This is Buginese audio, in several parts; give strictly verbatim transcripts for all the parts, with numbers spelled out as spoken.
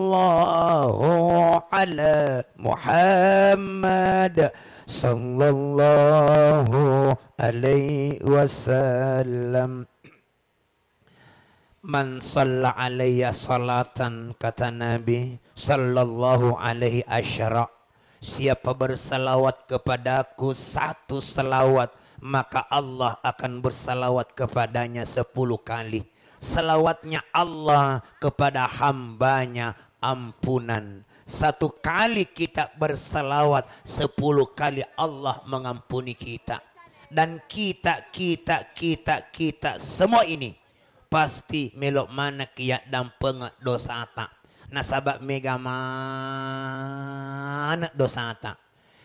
Sallallahu ala Muhammad, sallallahu alaihi wasallam. Man shalla alayya salatan, kata Nabi, sallallahu alaihi asyara. Siapa bersalawat kepadaku satu salawat, maka Allah akan bersalawat kepadanya sepuluh kali. Salawatnya Allah kepada hambanya ampunan. Satu kali kita bersalawat, sepuluh kali Allah mengampuni kita. Dan kita, kita, kita, kita semua ini pasti melo manekki yaddampengeng dosata. Nasaba mega maneng dosata.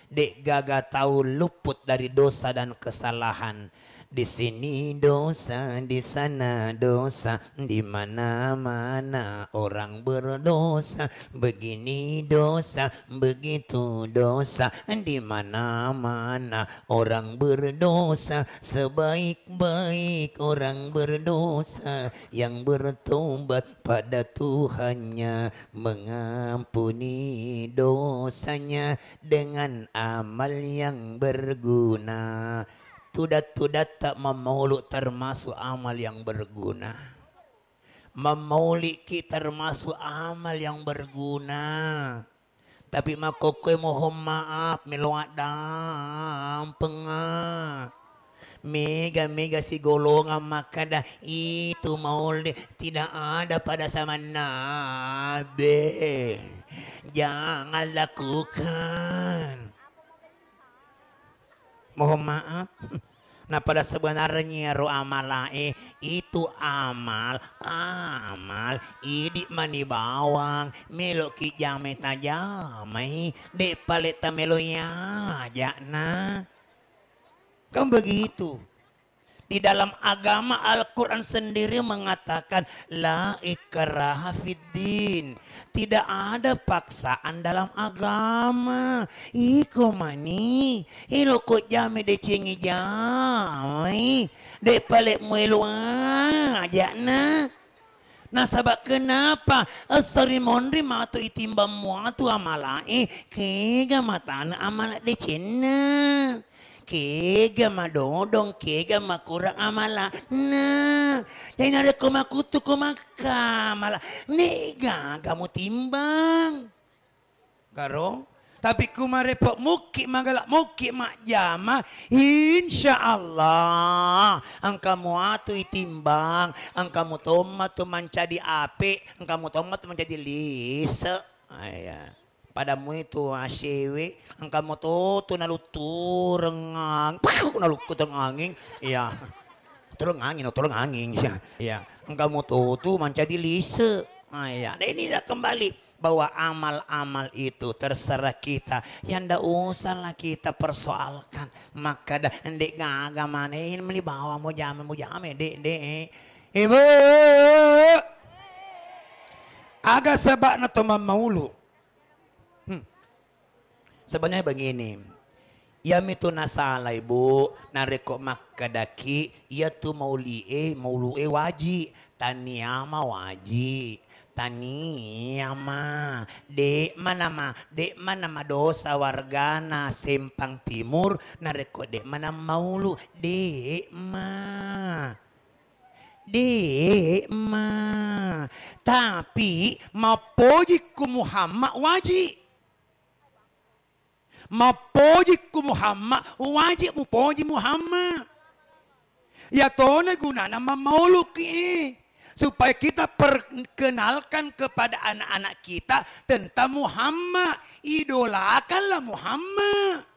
De'gaga tau luput dari dosa dan kesalahan. Di sini dosa, di sana dosa, di mana-mana orang berdosa. Begini dosa, begitu dosa, di mana-mana orang berdosa. Sebaik-baik orang berdosa yang bertobat pada Tuhannya, mengampuni dosanya dengan amal yang berguna. Tudat-tudatta mammaulu termasuk amal yang berguna. Mammauliki termasuk amal yang berguna. Tapi makkokkoe mohon maaf, melo addampenga. Mega-mega sigolongan makkeda, "Itu maulid tidak ada pada zaman Nabi. Jangan lakukan." Mohon maaf. Nah, pada sebenarnya ro amalae itu amal, amal idi mani bawang, meloki jamai tajamai, de pale tamelo ajana. Kan begitu. Di dalam agama Al-Quran sendiri mengatakan, "La ikraha fid din." Tidak ada paksaan dalam agama. Iko mani, iloko jame decengi jamai, de pale muelo ajana. Nasaba kenapa? Essori monri matu itimbang muatu amalae, kega matana amala decenna. Kega madodong, kega makurang amala'na. Jadi narekko makutu ko makkamala, ne gaga mutimbang. Karo? Tapi kumarepo mukki magala, mukki majjama, insya Allah engka muatu itimbang, engka mutomma tu mancaji ape, engka mutomma tu mancaji lise. Aya. Pada muitu asewe, engka mutotu naluttureng ang-, nalukkutureng anging. Iya. Tureng angin, tureng angin. Iya. Iya. Engka mutotu mancaji lise. Ah, iya. Dan inilah kembali bahwa amal-amal itu terserah kita. Ya ndak usahlah kita persoalkan. Makkeda, "Ndek gaga maneng meni bawa mujame, mujame, dek, dek." Ibu. Aga sebabna to mammaulu. Hmm. Sebenarnya begini, iyamitu nasalai, Bu, narekko makkedaki iyatu mauli'e, maulu'e waji, taniama waji, taniama, de'ma nama, de'ma nama dosa wargana Sempang Timur, narekko de'ma nammaulu, de'ma. De'ma. Tapi mappoji ku Muhammad waji. Mappoji ku Muhammad, wajib mupoji Muhammad. Iyatona gunana mammauluki, supaya kita perkenalkan kepada anak-anak kita tentang Muhammad. Idolakanlah Muhammad.